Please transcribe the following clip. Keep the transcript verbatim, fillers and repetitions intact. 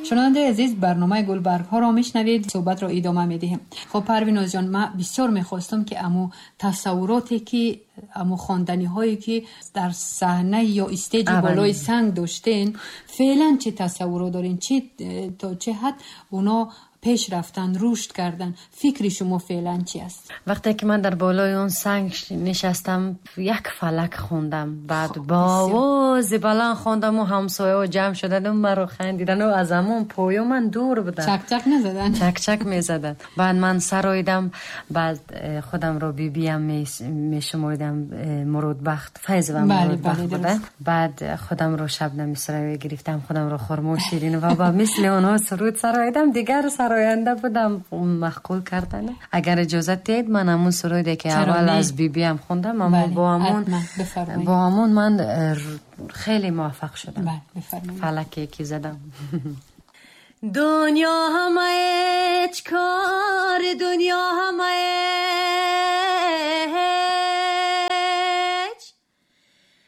Шунавандаи азиз, барномаи Гулбаргҳоро мешунавед, суҳбатро идома медиҳем. Хуб, Парвиноз ҷон, ман бисёр мехостам, ки аму тасаввуроте ки, аму хонданиҳое ки дар саҳна ё stage болои санг доштен, феълан чӣ тасаввурот дорен, чӣ то чӣ ҳад оно пеш рафтан, рушд кардан, фикри шумо феълан чӣ аст? Вақте ки ман дар болои он санг нишастам, як фалак хондам, баъд бо овози баланд хондам ва ҳамсояҳо ҷамъ шуданд ва маро хандиданд ва аз ҳамон поё ман дур будам. Чак-чак назаданд? Чак-чак мезаданд. Баъд ман сароидам, баъд худамро бибиям мешуморидам, Муродбахт, Файзова Муродбахт буда. Баъд худамро Шабнами Сурайё гирифтам, худамро хурмо ширин ва ба мисли онҳо суруд сароидам, дигар сароянда будам, маъқул кардан. Агар иҷозат диҳед, ман ҳамун суруде ки аввал аз бибиям хондам, аммо бо ҳамун бо ҳамун ман хеле муваффақ шудам. Фалаке ки задам. Дунё ҳама ҳеҷ кор